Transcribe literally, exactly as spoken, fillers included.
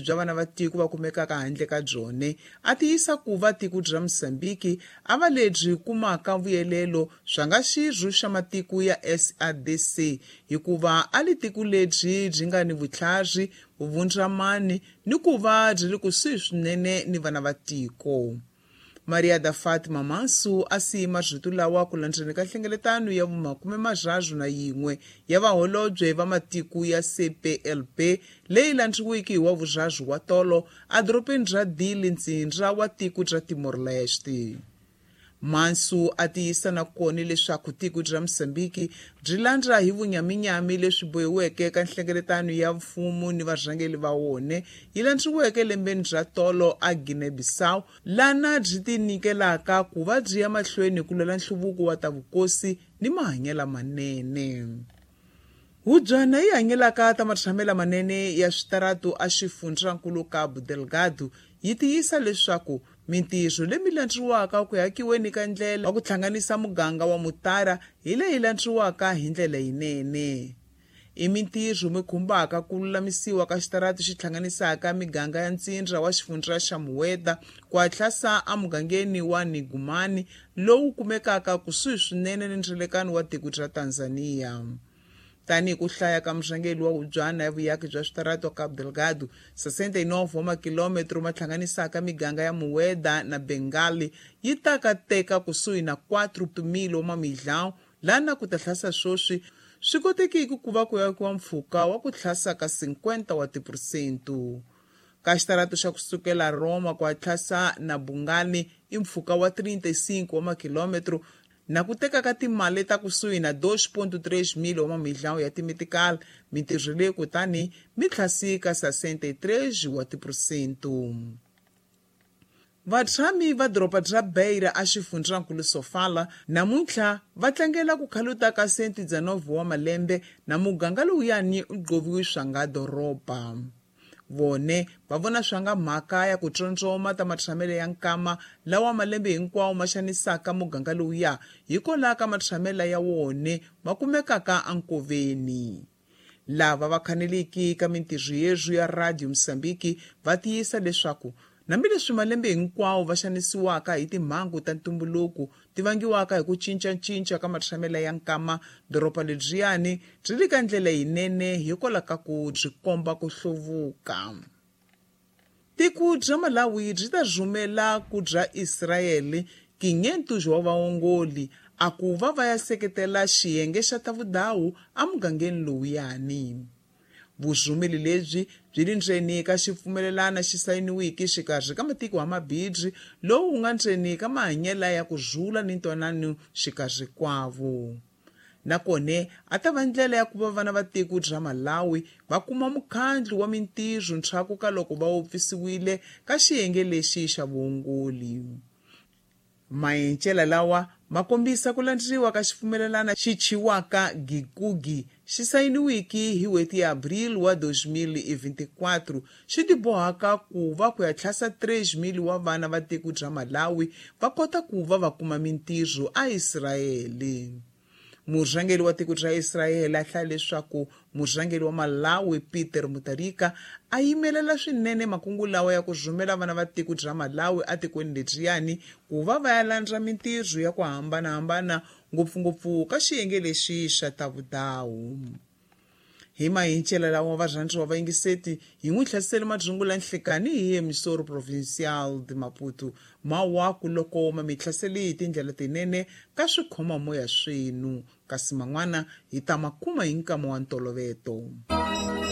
Bya vana va tiko va kumekaka handle ka byone a tiyisa ku va tiko bya Mozambique a va lebyi kumaka vuyelelo swa nga xirho xa matiko ya S A D C hikuva a li tiko lebyi byi nga ni vutlhari, vuvundzamani ni ku va byi ri kusuhi swinene ni vana va tiko. Maria da Fatima Manso a siyi marito lawa ku landzeni ka nhlengeletano ya vumakume marharhu na yin'we ya vaholobye va matiko ya C P L P leyi landziweke hi wa vurharhu wa tolo edorobeni ra Dili, ntsindza wa tiko ra Timor-Leste. Manso a tiyisa na kona leswaku tiko ra Mozambique byi landza hi vunyaminyami leswi bohiweke ka nhlengeletano ya mfumo ni varhangeri va wona yi landziweke lembeni ra tolo a Guinea-Bissau, lana byi tinyikelaka ku va byi ya mahlweni ku lwela nhluvuko wa ta vukosi ni mahanyelo manene. Hubyana yi hanyelaka ta matshamelo manene ya switaratu a xifundzankulu Cabo Delgado yi tiyisa leswaku mintirho leyi landziwaka ku hakiweni ka ndlela wa ku hlanganisa muganga wa Mutara hi leyi landziwaka hi ndlela yinene. I mintirho mi khumbaka ku lulamisiwa ka xitaratu xi hlanganisaka miganga ya ntsindza wa xifundza xa Mueda ku hatlasa emugangeni wa Nigumani lowu kumekaka kusuhi swinene ni ndzilekano wa tiko ra Tanzania. Tanihi ku hlaya ka murhangeri wa hubyana ya vuyaki bya switaratu Cabo Delgado, sessenta e nove wa makilometro ma hlanganisaka miganga ya Mueda na Bengali yi ta ka teka kusuhi na quatro mil wa mamilhão lana ku ta hlasa swoswi swi kotekiki ku va ku yakiwa mpfhuka wa ku hlasa ka cinquenta wa tiphesente. Ka xitaratu xa kusukela Roma ku hatlasa na Bungani i mpfhuka wa trinta e cinco wa makilometro na ku teka ka timali ta kusuhi na dois ponto três mil wa mamilhão ya timitikali, mintirho leyi kutani mi tlhasika sessenta e três wa tiphesente. Vatshami va doroba ra Beira a xifundzankulu Sofala namuntlha va tlangela ku khaluta ka cento e dezenove wa malembe na muganga lowuyani u gqoviwi swa nga doroba. Vone va vona swa nga mhaka ya ku tsondzoma ta matshamelo ya nkama lawa malembe hinkwawo ma xanisaka muganga lowuya hikwalaho ka matshamelo ya wone ma kumekaka enkoveni. Lava va khaneliki ka mintirho yezwu ya Radio Mozambique va tiyisa leswaku hambileswi malembe hinkwawo va xanisiwaka hi timhangu ta ntumbuluko ti vangiwaka hi ku cincacinca ka matshamelo ya nkama, doroba lebyiyani byi le ka ndlela yinene hikwalaho ka ku byi komba ku hluvuka. Tiko bya Malawi byi ta rhumela ku bya Israyele quinhentos wa vaongoli a ku va va ya seketela xiyenge xa ta vudawu emugangeni lowuyani. Vurhumeli lebyi byi le ndzeni ka xipfumelelano xi sayiniweke xikarhi ka matiko ya mabindzu lowu wu nga ndzeni ka mahanyelo ya ku rhula ni ntwanano xikarhi kwavo. Nakona a ta va ndlela ya ku va vana va tiko bya Malawi va kuma mukhandlu wa mintirho ndzhaku ka loko va wupfisiwile ka xiyenge lexi xa vuongoli. Maenchela lawa ma kombisa ku landzeriwa ka xipfumelelano xi thyiwaka Gikugi xi sayiniweke hi n'hweti ya Abril wa dois mil e vinte e quatro xi tibohaka ku va ku ya tlhasa três mil wa vana va tiko bya Malawi va kota ku va va kuma mintirho aIsrayele. Murhangeri wa tiko ra Israyele a hlaya leswaku murhangeri wa Malawi Peter Mutharika a yimelela swinene makungu lawa ya ku rhumela vana va tiko ra Malawi etikweni lebyiyani ku va va ya landza mintirho ya ku hambanahambana ngopfungopfu ka xiyenge lexi xa ta vudawu. Hi mahincela lawa varhandziwa va yingiseti hi n'wi hlasele madzungula nhlekani hi emissoro provincial de Maputo mawaku loko ma mi hlasele hi tindlela tinene ka swikhomamoya swenu kasi man'wana hi ta ma kuma hi nkama wa ntoloveto.